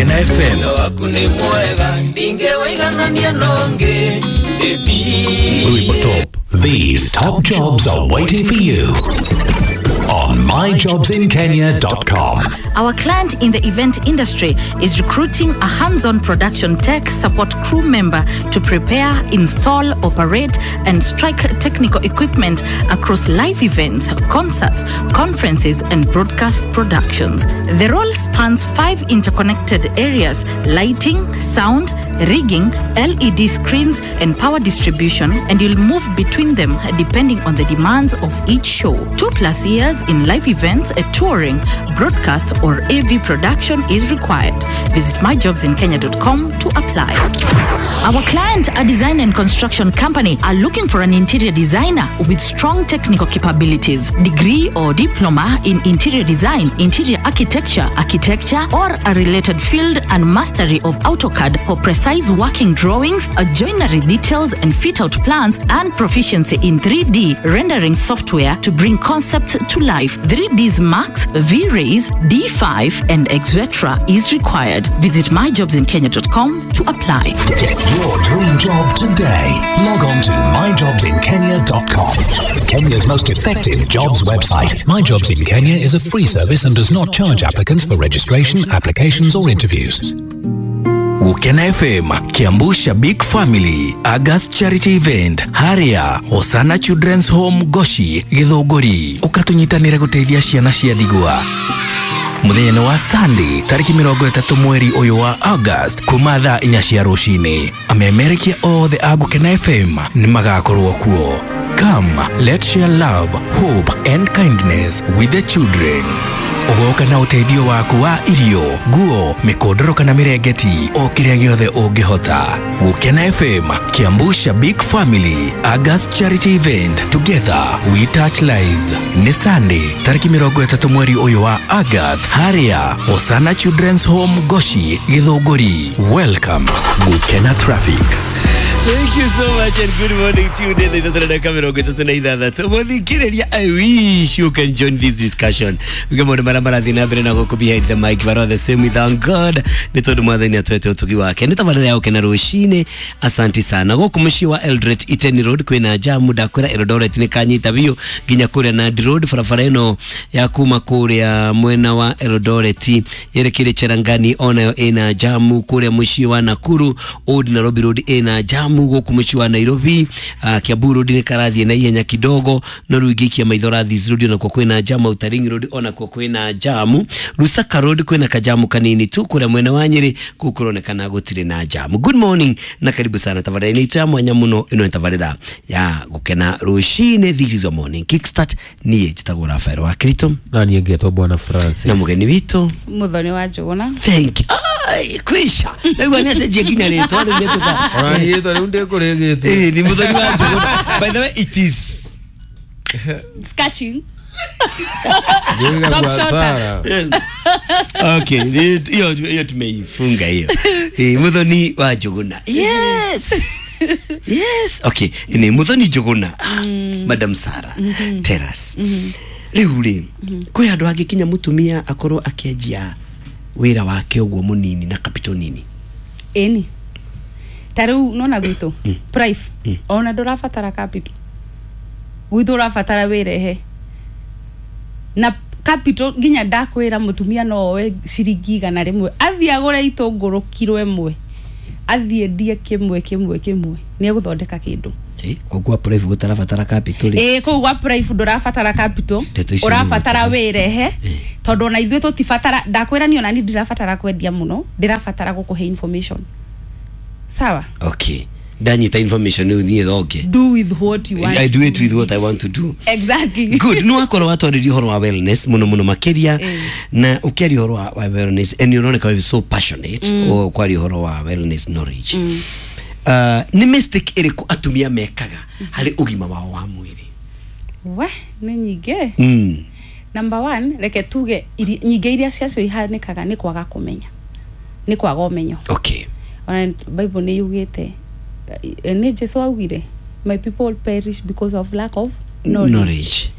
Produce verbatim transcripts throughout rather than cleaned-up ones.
Gukena F M. Waku nĩ mwega ndingĩwĩiganania nongĩ. Top. These top jobs are waiting for you on my jobs in kenya dot com. Our client in the event industry is recruiting a hands-on production tech support crew member to prepare, install, operate, and strike technical equipment across live events, concerts, conferences, and broadcast productions. The role spans five interconnected areas: lighting, sound, rigging, L E D screens, and power distribution, and you'll move between them depending on the demands of each show. Two plus years in live events, a touring, broadcast, or A V production is required. Visit my jobs in kenya dot com to apply. Our client, a design and construction company, are looking for an interior designer with strong technical capabilities, degree or diploma in interior design, interior architecture, architecture, or a related field, and mastery of AutoCAD for precise working drawings, joinery details, and fit-out plans, and proficiency in three D rendering software to bring concepts to life. three Ds Max, V-Rays, D five, and et cetera is required. Visit my jobs in kenya dot com to apply. Get your dream job today. Log on to my jobs in kenya dot com. Kenya's most effective jobs website. My Jobs in Kenya is a free service and does not charge applicants for registration, applications, or interviews. Gukena F M, Kiambu Shabik Family, August Charity Event, Haria, Hosana Children's Home Goshi, Githunguri. Ukatunyitanire guteithia ciana cia ndigwa. Muthenya wa Sunday tariki mirongo itatu mweri uyu wa August kuma thaa inya cia rucini. Amemerekia othe a Gukena F M ni magakorwo kuo. Come, let's share love, hope and kindness with the children. Ugoka na uteithio waku wa irio, nguo, mikondoro kana mirengeti, o kiria giothe ungihota. Gukena F M, Kiambu Shabik Family, August Charity Event. Together we touch lives. Ni Sunday tariki mirongo itatu mweri uyu wa August, Haria, Hosana Children's Home Goshi, Githunguri. Welcome. Gukena Traffic. Thank you so much and good morning to you. I wish you can join this discussion. Behind the mic, but the same with our God. Nĩ tondũ mwathani atwete ũtugi wake. Nĩ tabarĩra ya Gukena rũcinĩ. Asanti sana. Gũkũ mũciĩ wa Eldoret Iten Road kwĩna jamu, ndakwĩra Eldoret nĩ kanyita biũ nginya kũrĩa Nandi Road, barabara ĩno ya kuma kũrĩa mwena wa Eldoret yerekeire Cherangani onayo ĩna jamu. Kũrĩa mũciĩ wa Nakuru Old Nairobi Road ĩna jamu. Gũkũ mũciĩ wa Nairobi uh, Kiambu Road nĩ karathiĩ na ihenya kidogo, no rĩu ingĩikia maitho Rathis Road onakuo kwĩna jamu, Outer Ring Road onakuo kwĩna jamu, Lusaka Road kwĩna kajamu kanini tu, kũrĩa mwena wa Nyeri kũu kũronekana gũtirĩ na jamu. Good morning na karibu sana tabarĩra-inĩ itũ ya mwanya mũno. Ĩno nĩ tabarĩra ya Gukena rũcinĩ. This is your morning kickstart. Niĩ njĩtagwo Rafael wa Kristo na niĩ ngetwo Bwana Francis na mũgeni witũ Muthoni wa Njuguna. Thank you. Ai, kwisha naigua nĩ acenjia nginya rĩtwa rĩu nĩtũta ona niĩ rĩtwa rĩu ndĩkũrĩgĩte. Eh, ni Muthoni wa Njuguna. By the way, it is sketching. Stop shorter. Okay, hiyo hiyo tumeifunga hiyo. Eh, Muthoni wa Njuguna. Yes. Yes. Okay, ni Muthoni Njuguna. Mm. Madam Sarah. Mm -hmm. Terrace. Rĩu rĩ, kwĩ handũ hangĩkinya mũtumia akorwo akĩanjia wĩra wake ũguo mũnini na capital nini? Ĩni. Ta rĩu nona gwitũ prife ona ndũrabatara capital, gwitũ ũrabatara wĩrehe na capital. Nginya ndakwĩra mũtumia no oe ciringi igana rĩmwe athiĩ agũre itũngũrũ kiro ĩmwe athiĩ endie kĩmwe kĩmwe kĩmwe nĩ egũthondeka kĩndũ. Kũu gwa prife gũtarabatara capital rĩ? Ĩĩ, kũu gwa prife ndũrabatara capital, ũrabatara wĩrehe, tondũ ona ithuĩ tũtibatara. Ndakwĩra niĩ ona niĩ ndirabatara kwendia mũno, ndĩrabatara gũkũhe information. Sawa? Okay. Ndanyita information rĩu niĩ thonge. Do with what you want. I do it with what I want to do. Exactly. Good. No akorwo watwarĩria ũhoro wa wellness mũno mũno makĩria, na ũkĩaria ũhoro wa wellness and ũroneka wĩ so passionate o kwaria ũhoro wa wellness knowledge. Mm. Uh, nĩ mistake ĩrĩkũ atumia mekaga harĩ ũgima wao wa mwĩrĩ? We, nĩ nyingĩ. Mm. Number one, reke tuge nyingĩ iria ciacio ihanĩkaga nĩ kwaga kũmenya. Nĩ kwaga ũmenyo. Okay. Ona Bible nĩ yugĩte, nĩ Jesu augire, my people perish because of lack of knowledge. Knowledge.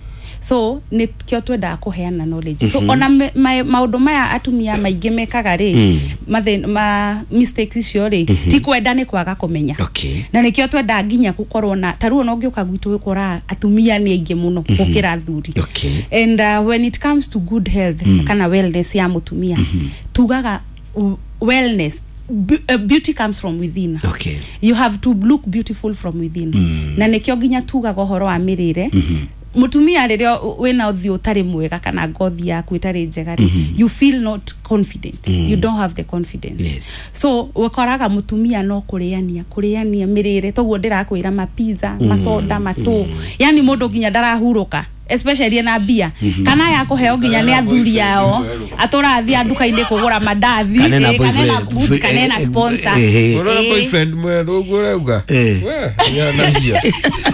So nä kä o twendaga kå heana knowledge. So ona me- ma- maũndũ maya atumia maingĩ mekaga rĩ, Mm. mathĩ- ma mistakes icio rĩ, ti kwenda, nĩ kwaga kũmenya. Okay. Na nĩkĩo twendaga nginya gũkorwo na ta rĩu ona ũngĩũka gwitũ ũkoraga atumia nĩ aingĩ mũno gũkĩra athuri. Okay. And uh, when it comes to good health mm. kana wellness ya mũtumia, mm -hmm. tugaga w- wellness, bu- uh, beauty comes from within. Okay. You have to look beautiful from within mm. Na nĩkĩo nginya tugaga ũhoro wa mĩrĩre mm -hmm. Mũtumia rĩrĩa wĩna ũthiũ ũtarĩ mwega kana ngothi yaku ĩtarĩ njega rĩ, you feel not confident mm. You don't have the confidence. Yes. So ũkoraga mũtumia no kũrĩania kũrĩania mĩrĩre toguo ndĩrakwĩra, mapizza, masoda, matũ, yani mũndũ nginya ndarahurũka, especially na mbia kana ya kũheo nginya nĩ athuri ao, atũrathia nduka-inĩ kũgũra mandathi. Kana ena eh, kana ena boyfriend. good, kana ena sponsor. Eh, eh, eh. Ũrona Eh. boyfriend mwerũ ũguo ũrauga? Eh. We, yanagia.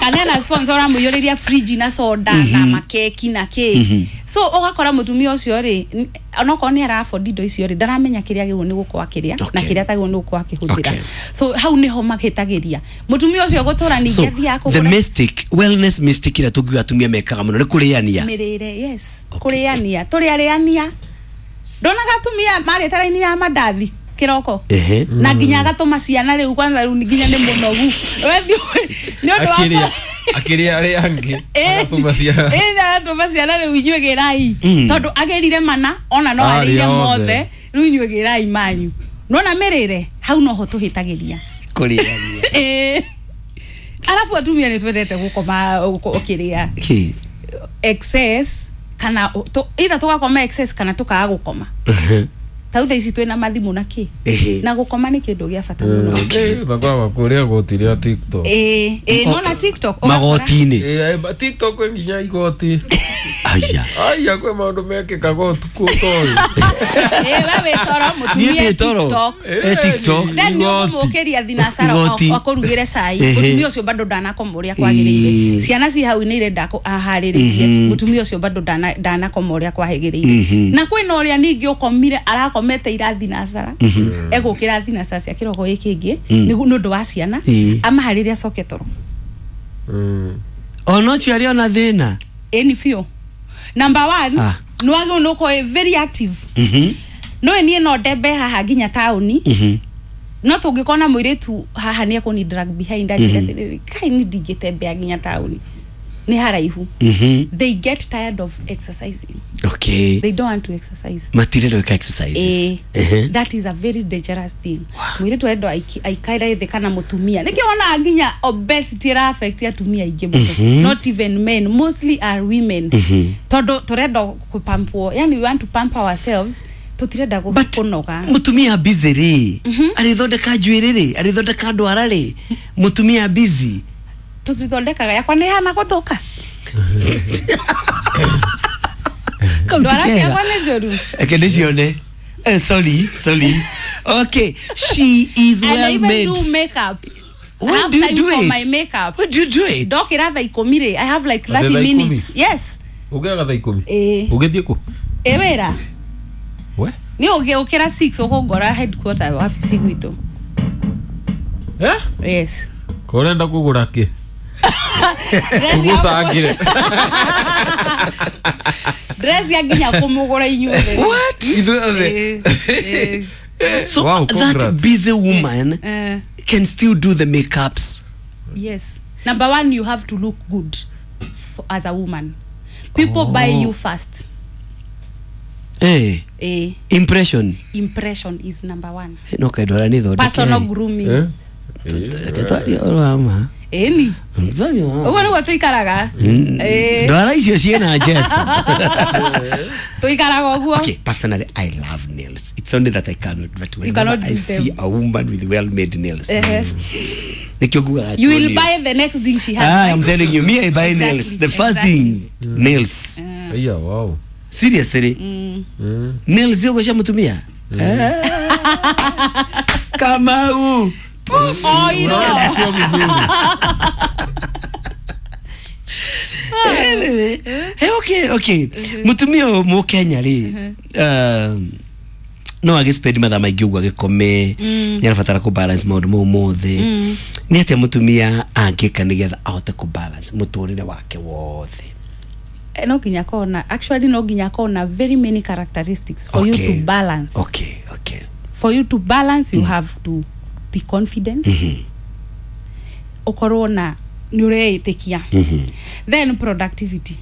Kana ena sponsor ũramũiyũrĩria fridge na soda na makeki na kĩ. So ũgakora mũtumia ũcio rĩ, n- onokorwo nĩ ara afford indo icio rĩ, ndaramenya kĩrĩa agĩrĩirwo nĩ gũkorwo akĩrĩa na Okay. kĩrĩa atagĩrĩirwo nĩ gũkorwo akĩhũthĩra. Okay. So hau nĩho mahĩtagĩria mũtumia ũcio gũtũra ningĩ So athiaga the kũgũra mistake, wellness mistake ĩrĩa tũngiuga atumia mekaga mũno nĩ kũrĩania. Mĩrĩre, yes. Okay. Kũrĩania, tũrĩarĩania. Ndonaga atumia marĩte raini ya mandathi kĩroko Ehe. na nginya agatũma ciana rĩu kwanza, rĩu nginya nĩ mũnogu. We nĩ ũndũ wa Akĩrĩa akĩrĩa arĩa angĩ, agatũma ciana. Ĩ, agatũma ciana, rĩu inyuĩ gĩrai, Mm. tondũ agĩrire mana ona no Arĩa arĩire othe. mothe, rĩu inyuĩ gĩrai manyu. Nona mĩrĩre hau noho tũhĩtagĩria. Kũrĩania. Ĩ. Arabu atumia nĩ twendete gũkoma ũkĩrĩa Kĩ? excess, kana tu- either tũgakoma excess kana tũkaga gũkoma. Ta thaa ici twĩna mathimũ na kĩ, Ehe. na gũkoma nĩ kĩndũ gĩa bata mũno. Eh, makoragwo kũrĩa goti rĩa TikTok. Ĩ, ĩ, nona TikTok ũgakora- Magoti-inĩ. Eh, eh, TikTok kwĩ nginya igoti. Aya. Aya, kwĩ maũndũ mekĩkaga ũtukũ ũtoĩ. Ĩ, we wĩ toro, Niĩ mũtumia ndĩ toro. TikTok. Eh, TikTok. Then nĩ ũkũmũkĩria thinacara Igoti. akũrugĩre cai. Ehe. Mũtumia ũcio bado ndanakoma ũrĩa kwagĩrĩire. Ĩ. Ciana ci hau nĩ irenda kũ- aharĩrĩrie, mũtumia ũcio bado ndana- ndanakoma ũrĩa kwagĩrĩire. Na kwĩna ũrĩa ningĩ ũkomire, arakomete ira thinacara, egũkĩra thinacara cia kĩroko gĩkĩ kĩngĩ nĩguo nĩ ũndũ wa ciana, Ĩ. amaharĩrie acoke toro. Mm. Ona ũcio arĩ ona thĩna. Ĩni biũ. Number one, Ah. nĩ wagĩrĩirwo nĩ ũkorwo wĩ very active. Mhm. No niĩ no ndembe haha nginya taũni, Mhm. no tũngĩkona mũirĩtu haha nĩ ekũni drag behind, anjĩre atĩrĩrĩ, kai ni ndingĩtembea nginya taũni, nĩ haraihu. Mhm. They get tired of exercising. Okay. They don't want to exercise. Matirenda gwĩka exercises. Eh, Ehe. that is a very dangerous thing. Mũirĩtu arendwo aiki- aikare thĩ kana mũtumia, nĩkĩo wonaga nginya obesity ĩra affect atumia aingĩ mũno, not even men, mostly are women, tondũ tũrenda kũpampwo, yani we want to pamper ourselves, tũtirenda gũ- But kũnoga. Mũtumia busy rĩ, arĩthondeka njuĩrĩ rĩ, arĩthondeka ndwara rĩ, mũtumia busy? Tũtithondekaga, yakwa nĩ hana gũthũka. Kau ti Ndwara kega. ciakwa nĩ njũru. Reke ndĩcione. Eh, sorry, sorry. Okay, she is And I well even made. do makeup. I When have do you time do for it? my makeup. When do you do it? Ndokĩra thaa ikũmi rĩ, I have like Atĩ thirty thaa ikũmi? minutes. Yes. Ũkĩraga thaa ikũmi? Ĩĩ. Ũgĩthiĩ kũ? Ĩ, wĩra. We? Nĩ ũgĩũkĩra six ũkũngora headquarter, wabici gwitũ. Eh? Yes. Ko ũrenda kũgũra kĩ? Dress ya- Ũgũcangĩre. Dress ya nginya kũmũgũra inyuothe. What? Ithuothe. Ĩĩ, ĩĩ. So Wow, that congrats. busy woman Eh, can still do the makeups? Yes. Number one, you have to look good for, as a woman. People Oh. buy you first. Eh, Eh, impression. Impression is number one. No kaĩ ndwara nĩ thondeke. Personal grooming. Eh? Reke twarie ũhoro wa ma. Ĩni. Twarie ũhoro wa ma. Ũguo nĩguo tũikaraga. Ĩĩ. Ndwara icio ciĩna Jessa. Tũikaraga ũguo. Okay, personally, I love nails. It's only that I cannot, but whenever Cannot I do see them. a woman with well-made nails, Ehe. nĩkĩo ngugaga You will tuonio. buy the next thing she has. Ah, Right? I'm telling you, me, I buy Exactly, nails. The first exactly. thing, nails. Aya, wow. Seriously, Mm. nails icio cia mũtumia. Ah. Kamau. Oh, you know. Anyway, hey, okay, okay. Mũtumia ũyũ mũkenya rĩ, um, no agĩspend mathaa maingĩ ũguo agĩkome, nĩ arabatara kũ balance maũndũ mau mothe. Nĩ atĩa mũtumia angĩka nĩgetha ahote kũ balance mũtũrĩre wake wothe? Eh, no nginya akorwo na, actually no nginya akorwo na very many characteristics for you Okay. to balance. Okay okay For you to balance, you have to be confident, ukorwo na nä å reĩtä kia, then productivity.